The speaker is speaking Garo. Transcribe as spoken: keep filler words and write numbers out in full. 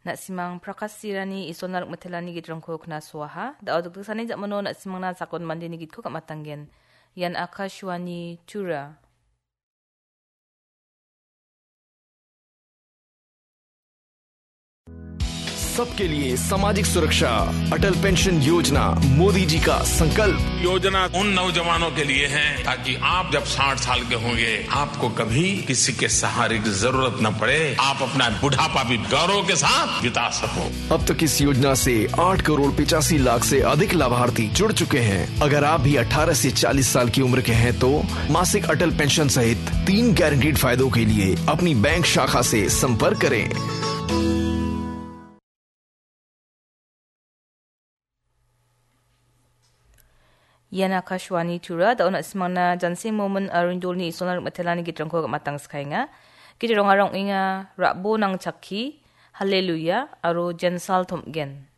Na·simang Prakasirani Isolna rikmitelani gitrangko knasoaha. Da·o dikdiksani jamano na·simangna sakon mandeni gitko gamatanggen. Ian Akashvani Tura. सबके लिए सामाजिक सुरक्षा, अटल पेंशन योजना, मोदी जी का संकल्प। योजना उन नौजवानों के लिए है, ताकि आप जब साठ साल के होंगे, आपको कभी किसी के सहारे की जरूरत न पड़े, आप अपना बुढ़ापा भी गौरव के साथ बिता सको। अब तक इस योजना से आठ करोड़ पचासी लाख से अधिक लाभार्थी जुड़ चुके हैं। अगर आप भी अठारह से चालीस साल की उम्र के हैं, तो मासिक अटल पेंशन सहित तीन गारंटीड फायदों के लिए अपनी बैंक शाखा से संपर्क करें। Ian Akashvani Tura, da·o na·simangna Jansing Momin Arindolni Isolna rikmatelani gitrangko gamatang skaenga. Gitrongarang ong·enga, Rabo Nangchakki, Haleluya, aro Jensal Tomgen.